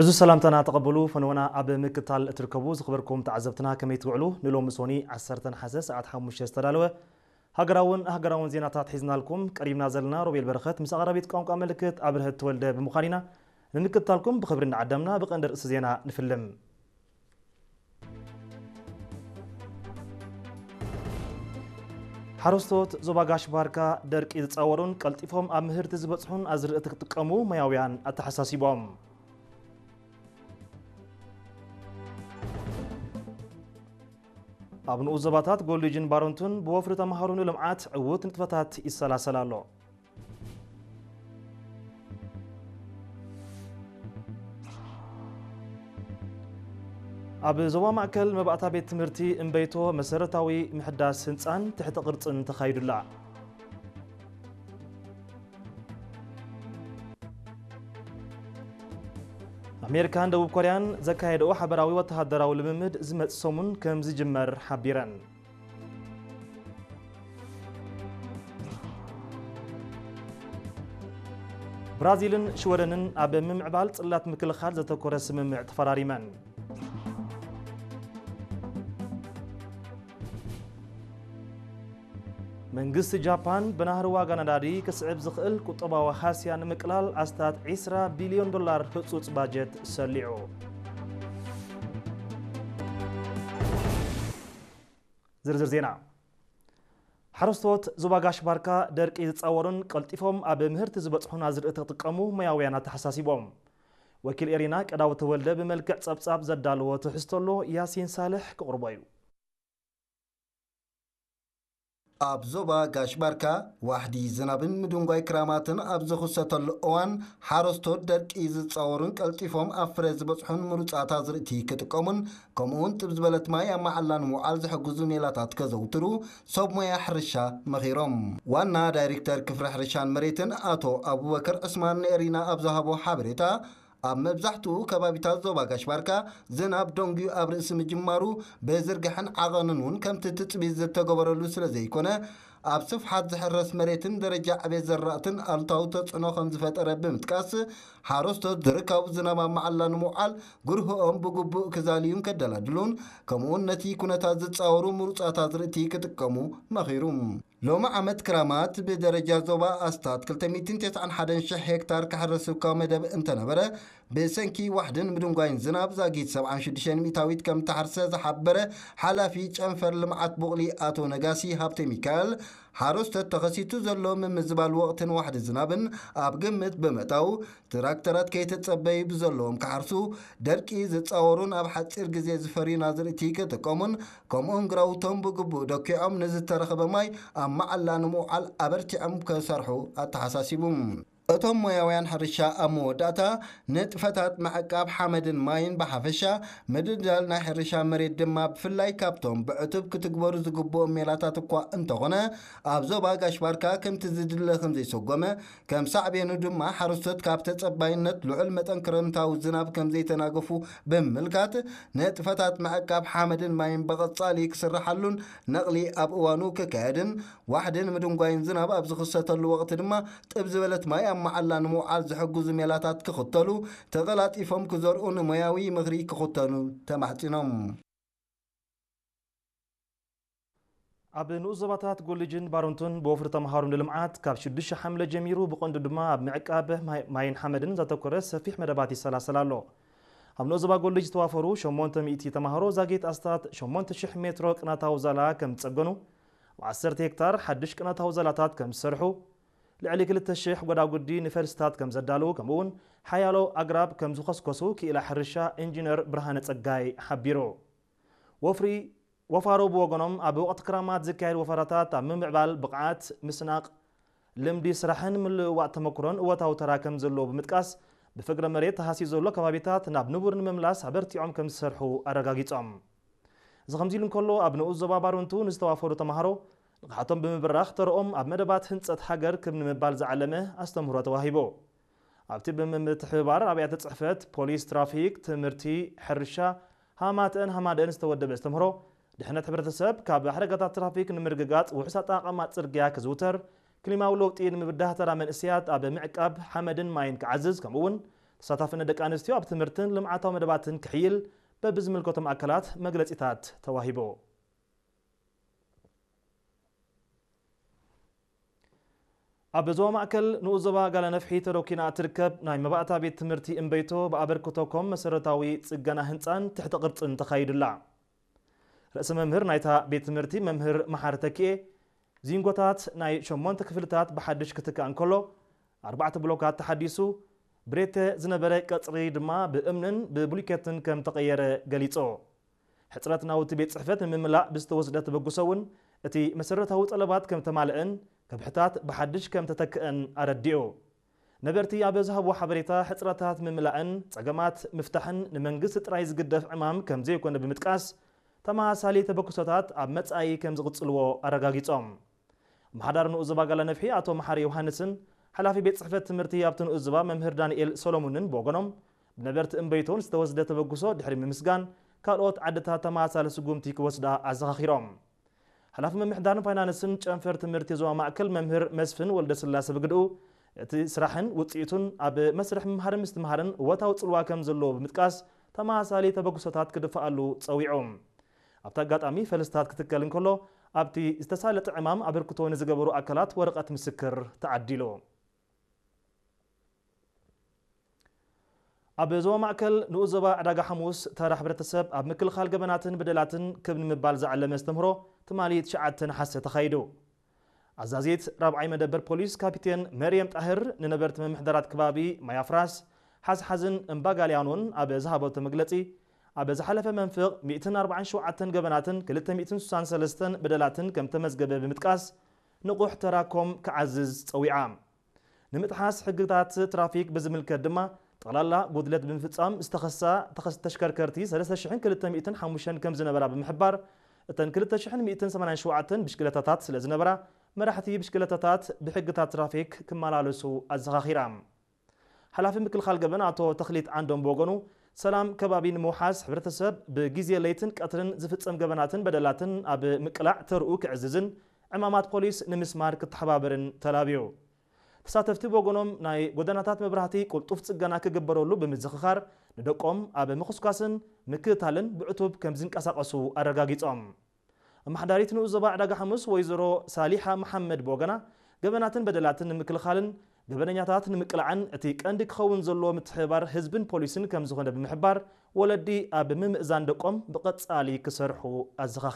ዕዙዝ ሰላምታና ተቐበሉ። ፈነወና ኣብ ምክታል እትርከቡ ዝኽበርኩም ተዓዘብትና ከመይ ትውዕሉ? ንሎሚ ሶኒ ዓሰርተ ነሓሰ ሰዓት ሓሙሽተ ዝተዳለወ ሃገራውን ሃገራውን ዜናታት ሒዝናልኩም ቀሪብና ዘለና ሮቤል በረኸት ምስ ኣቕራቢት ቋንቋ ምልክት ኣብርሀት ተወልደ ብምዃን ኢና። ንምክትታልኩም ብኽብሪ እናዓደምና ብቐንዲ ርእሲ ዜና ንፍልም። ሓረስቶት ዞባ ጋሽ ባርካ ደርቂ ዝጻወሩን ቀልጢፎም ኣብ ምህርቲ ዝበጽሑን ኣዝርእቲ ክጥቀሙ ሞያውያን ኣተሓሳሲቦም። ኣብ ንኡስ ዞባታት ጎልጅን ባረንቱን ብወፍሪ ተምሃሮ ንልምዓት ዕዉት ንጥፈታት ይሰላሰል ኣሎ። ኣብ ዞባ ማእከል መባእታ ቤት ትምህርቲ እምበይቶ መሰረታዊ ምሕዳስ ህንጻን ትሕተ ቅርጽን ተኻይዱላ። ኣሜሪካን ደቡብ ኮርያን ዘካየደኦ ሓበራዊ ወተሃደራዊ ልምምድ ዝመጽእ ሰሙን ከም ዝጅመር ሓቢረን። ብራዚልን ሽወደንን ኣብ ምምዕባል ጽላት ምክልኻል ዘተኮረ ስምምዕ ተፈራሪመን። መንግስቲ ጃፓን ብናህሪ ዋጋ ነዳዲ ክስዕብ ዝኽእል ቁጠባዊ ሃስያ ንምቅላል ኣስታት ዒስራ ቢልዮን ዶላር ህጹጽ ባጀት ሰሊዑ። ዝርዝር ዜና። ሓረስቶት ዞባ ጋሽ ባርካ ደርቂ ዝጻወሩን ቀልጢፎም ኣብ ምህርቲ ዝበጽሑን ኣዝርእቲ ክጥቀሙ ሞያውያን ኣተሓሳሲቦም። ወኪል ኤሪና ቀዳው ተወልደ ብመልክዕ ጸብጻብ ዘዳለዎ ትሕዝቶ ኣሎ፣ ያሲን ሳልሕ ክቕርቦ እዩ። ኣብ ዞባ ጋሽ ባርካ ዋሕዲ ዝናብን ምድንጓይ ክራማትን ኣብ ዝኽሰተሉ እዋን፣ ሓረስቶት ደርቂ ዝጻወሩን ቀልጢፎም ኣብ ፍረ ዝበጽሑን ምሩጻት ኣዝርእቲ ክጥቀሙን፣ ከምኡውን ጥብ ዝበለት ማይ ኣብ መዓላ ንምውዓል ዝሕግዙ ሜላታት ከዘውትሩ ሰብ ሞያ ሕርሻ መኺሮም። ዋና ዳይሬክተር ክፍሊ ሕርሻን መሬትን ኣቶ ኣቡበከር ዕስማን ንኤሪና ኣብ ዝሃቦ ሓበሬታ፣ ኣብ መብዛሕትኡ ከባቢታት ዞባ ጋሽ ባርካ ዝናብ ደንጉዩ ኣብ ርእሲ ምጅማሩ፣ ብዝርግሐን ዓቐንን እውን ከምቲ ትጽቢት ዝተገበረሉ ስለ ዘይኮነ፣ ኣብ ስፍሓት ዝሕረስ መሬትን ደረጃ ዕቤት ዘራእትን ኣሉታዊ ተጽዕኖ ከም ዝፈጠረ ብምጥቃስ፣ ሓረስቶት ዝርካቡ ዝናብ ኣብ መዓላ ንምውዓል ግርህኦም ብግቡእ ክዛልዩን ከደላድሉን፣ ከምኡውን ነቲ ኩነታት ዝጻወሩ ምሩጻት ኣዝርእቲ ክጥቀሙ መኺሩ። ሎሚ ዓመት ክራማት ብደረጃ ዞባ ኣስታት ክልተ ሚእትን ተስዓን ሓደን ሽሕ ሄክታር ክሕረስ እኳ መደብ እንተነበረ፣ ብሰንኪ ዋሕድን ምድንጓይን ዝናብ ዛጊት ሰብዓን ሽዱሽተን ሚእታዊት ከም እተሓርሰ ዝሓበረ ሓላፊ ጨንፈር ልምዓት ቡቕሊ ኣቶ ነጋሲ ሃብተ ሚካኤል፣ ሓረስቶት ተኸሲቱ ዘሎ ምምዝባል ወቕትን ዋሕዲ ዝናብን ኣብ ግምት ብምእታው፣ ትራክተራት ከይተጸበዩ ብዘለዎም ክሓርሱ፣ ደርቂ ዝጻወሩን ኣብ ሓጺር ግዜ ዝፈርዩን ኣዝርእቲ ክጥቀሙን፣ ከምኡውን ግራውቶም ብግቡእ ደኪዖም ንዝተረኸበ ማይ ኣብ መዓላ ንምውዓል ኣበርቲዖም ክሰርሑ ኣተሓሳሲቡ። እቶም ሞያውያን ሕርሻ ኣብ መወዳእታ፣ ንጥፈታት ምዕቃብ ሓመድን ማይን ብሓፈሻ፣ ምድልዳል ናይ ሕርሻ መሬት ድማ ብፍላይ ካብቶም ብዕቱብ ክትግበሩ ዝግብኦም ሜላታት እኳ እንተኾነ፣ ኣብ ዞባ ጋሽ ባርካ ከምቲ ዝድለ ከም ዘይሰጎመ፣ ከም ሳዕቤኑ ድማ ሓረስቶት ካብ ተጸባይነት ልዑል መጠን ክረምታዊ ዝናብ ከም ዘይተናገፉ ብምምልካት፣ ንጥፈታት ምዕቃብ ሓመድን ማይን ብቐጻሊ ክስርሓሉን ነቕሊ ኣብ እዋኑ ክካየድን፣ ዋሕድን ምድንጓይን ዝናብ ኣብ ዝኽሰተሉ ወቕቲ ድማ ጥብ ዝበለት ማይ ኣብ መዓላ ንምውዓል ዝሕግዙ ሜላታት ክኽተሉ፣ ተቐላጢፎም ክዘርኡ ንሞያዊ ምኽሪ ክኽተኑ ተማሕጺኖም። ኣብ ንኡስ ዞባታት ጎልጅን ባረንቱን ብወፍሪ ተምሃሮ ንልምዓት ካብ ሽዱሽተ ሓምለ ጀሚሩ ብቐንዱ ድማ ኣብ ምዕቃብ ማይ-፣ ማይን ሓመድን ዘተኮረ ሰፊሕ መደባት ይሰላሰል ኣሎ። ኣብ ንኡስ ዞባ ጎልጅ ዝተዋፈሩ ሸሞንተ ሚእቲ ተምሃሮ ዛጊት ኣስታት ሸሞንተ ሽሕ ሜትሮ ቅናታዊ ዛላ ከም ዝጸገኑ፣ ኣብ ዓሰርተ ሄክታር ሓድሽ ቅናታዊ ዛላታት ከም ዝሰርሑ፣ ልዕሊ ክልተ ሽሕ ጎዳጉዲ ንፈልስታት ከም ዘዳለዉ፣ ከምኡውን ሓያሎ ኣግራብ ከም ዝኸስከሱ ክኢላ ሕርሻ ኢንጂነር ብርሃነ ጸጋይ ሓቢሩ። ወፍሪ ወፋሮ ብወገኖም፣ ኣብ ወቕቲ ክራማት ዝካየድ ወፈራታት ኣብ ምምዕባል ብቕዓት፣ ምስናቕ ልምዲ ስራሕን ምልውዋጥ ተመክሮን እወታዊ ተራ ከም ዘለዎ ብምጥቃስ፣ ብፍግረ መሬት ተሃስዩ ዘሎ ከባቢታት ናብ ንቡር ንምምላስ ኣበርቲዖም ከም ዝሰርሑ ኣረጋጊጾም። እዚ ከምዚ ኢሉ እንከሎ፣ ኣብ ንኡስ ዞባ ባረንቱ ንዝተዋፈሩ ተምሃሮ ንቕሓቶም ብምብራኽ፣ ተረኦም ኣብ መደባት ህንጸት ሃገር ክብ ንምባል ዝዓለመ ኣስተምህሮ ተዋሂቡ። ኣብቲ ብምትሕብባር ኣብያተ ጽሕፈት፣ ፖሊስ፣ ትራፊክ፣ ትምህርቲ፣ ሕርሻ፣ ሃማተአን ሃማደአን ዝተወደበ ኣስተምህሮ፣ ድሕነት ሕብረተሰብ ካብ ሓደጋታት ትራፊክ ንምርግጋጽ ውሑስ ኣጠቓቕማ ጽርግያ ክዝውተር፣ ክሊማዊ ለውጢ ንምብዳህ ተራ መንእሰያት ኣብ ምዕቃብ ሓመድን ማይን ክዓዝዝ፣ ከምኡ'ውን ተሳታፍነት ደቂ ኣንስትዮ ኣብ ትምህርትን ልምዓታዊ መደባትን ክሕይል በብዝምልከቶም ኣካላት መግለጺታት ተዋሂቡ። ኣብ ዞባ ማእከል ንኡስ ዞባ ጋላ ነፍሒ ተሮኪና እትርከብ ናይ መባእታ ቤት ትምህርቲ እምበይቶ ብኣበርክቶ ኮም መሰረታዊ ጽገና ህንጻን ትሕቲ ቅርጽን ተኻይዱላ። ርእሰ መምህር ናይታ ቤት ትምህርቲ መምህር መሓሪ ተኪኤ፣ ዚንጎታት ናይ ሸሞንተ ክፍልታት ብሓድሽ ክትካእ እንከሎ፣ ኣርባዕተ ብሎካት ተሓዲሱ፣ ብሬተ ዝነበረ ቀጽሪ ድማ ብእምንን ብቡሊኬትን ከም ተቐየረ ገሊጹ። ሕጽረት ናውቲ ቤት ጽሕፈት ንምምላእ ብዝተወስደ ተበግሶ እውን እቲ መሰረታዊ ጠለባት ከም ተማልአን ከብሕታት ብሓድሽ ከም ተተክአን ኣረዲኡ። ነበርቲ ኣብ ዝሃብዎ ሓበሬታ፣ ሕጽረታት ምምላእን ጸገማት ምፍታሕን ንመንግስቲ ጥራይ ዝግደፍ ዕማም ከም ዘይኮነ ብምጥቃስ፣ ተመሳሳሊ ተበግሶታት ኣብ መጻኢ ከም ዝቕጽልዎ ኣረጋጊጾም። ኣመሓዳሪ ንኡስ ዞባ ጋላ ነፍሒ ኣቶ መሓሪ ዮሃንስን ሓላፊ ቤት ጽሕፈት ትምህርቲ ኣብቲ ንኡስ ዞባ መምህር ዳንኤል ሰሎሙንን ብወገኖም፣ ብነበርቲ እምበይቶን ዝተወስደ ተበግሶ ድሕሪ ምምስጋን፣ ካልኦት ዓድታት ተመሳሳሊ ስጉምቲ ክወስዳ ኣዘኻኺሮም። ሓላፊ ምምሕዳርን ፋይናንስን ጨንፈር ትምህርቲ ዞባ ማእከል መምህር መስፍን ወልደስላሰ ብግድኡ፣ እቲ ስራሕን ውጽኢቱን ኣብ መስርሕ ምምሃርን ምስትምሃርን እወታዊ ጽልዋ ከም ዘለዎ ብምጥቃስ፣ ተመሳሳሊ ተበግሶታት ክድፍኣሉ ጸዊዑ። ኣብቲ ኣጋጣሚ ፈልስታት ክትከል እንከሎ፣ ኣብቲ ዝተሳለጠ ዕማም ኣበርክቶ ንዝገበሩ ኣካላት ወረቐት ምስክር ተዓዲሉ። ኣብ ዞባ ማእከል ንኡስ ዞባ ዕዳጋ ሓሙስ ተራ ሕብረተሰብ ኣብ ምክልኻል ገበናትን በደላትን ክብ ንምባል ዝዓለመ ኣስተምህሮ ትማሊ ትሽዓተ ነሓሰ ተኻይዱ። ኣዛዚት ራብዓይ መደበር ፖሊስ ካፒቴን መርየም ጣህር ንነበርቲ ምምሕዳራት ከባቢ ማያፍራስ፣ ሓዝሓዝን እምባጋልያኖን ኣብ ዝሃበቶ መግለጺ፣ ኣብ ዝሓለፈ መንፍቕ ሚእትን ኣርባዓን ሸውዓተን ገበናትን ክልተ ሚእትን ስሳን ሰለስተን በደላትን ከም ተመዝገበ ብምጥቃስ፣ ንቑሕ ተራ ኮም ክዓዝዝ ጸዊዓ። ንምጥሓስ ሕግታት ትራፊክ ብዝምልከት ድማ፣ ጠቕላላ ጉድለት ብምፍጻም ዝተኸሳ ተኸስ-፣ ተሽከርከርቲ ሰለስተ ሽሕን ክልተ ሚእትን ሓሙሽተን ከም ዝነበራ ብምሕባር፣ እተን ክልተ ሽሕን ሚእትን ሰማንያን ሸውዓተን ብሽክለታታት ስለ ዝነበራ፣ መራሕቲ ብሽክለታታት ብሕግታት ትራፊክ ክመላለሱ ኣዘኻኺራ። ሓላፊ ምክልኻል ገበን ኣቶ ተኽሊት ዓንዶም ብወገኑ፣ ሰላም ከባቢ ንምውሓስ፣ ሕብረተሰብ ብግዜ ለይትን ቀትርን ዝፍጸም ገበናትን በደላትን ኣብ ምቅላዕ ተርኡ ክዕዝዝን ዕማማት ፖሊስ ንምስማር ክተሓባበርን ተላብዩ። ተሳተፍቲ ብወገኖም፣ ናይ ጎደናታት መብራህቲ ቅልጡፍ ጽገና ክግበረሉ ብምዝኽኻር፣ ንደቆም ኣብ ምኹስኳስን ምክትታልን ብዕቱብ ከም ዝንቀሳቐሱ ኣረጋጊጾም። ኣመሓዳሪት ንኡስ ዞባ ዕዳጋ ሓሙስ ወይዘሮ ሳሊሓ መሓመድ ብወገና፣ ገበናትን በደላትን ንምክልኻልን ገበነኛታት ንምቅላዕን እቲ ቀንዲ ክኸውን ዘለዎ ምትሕብባር ህዝብን ፖሊስን ከም ዝኾነ ብምሕባር፣ ወለዲ ኣብ ምምእዛን ደቆም ብቐጻሊ ክሰርሑ ኣዘኻኺራ።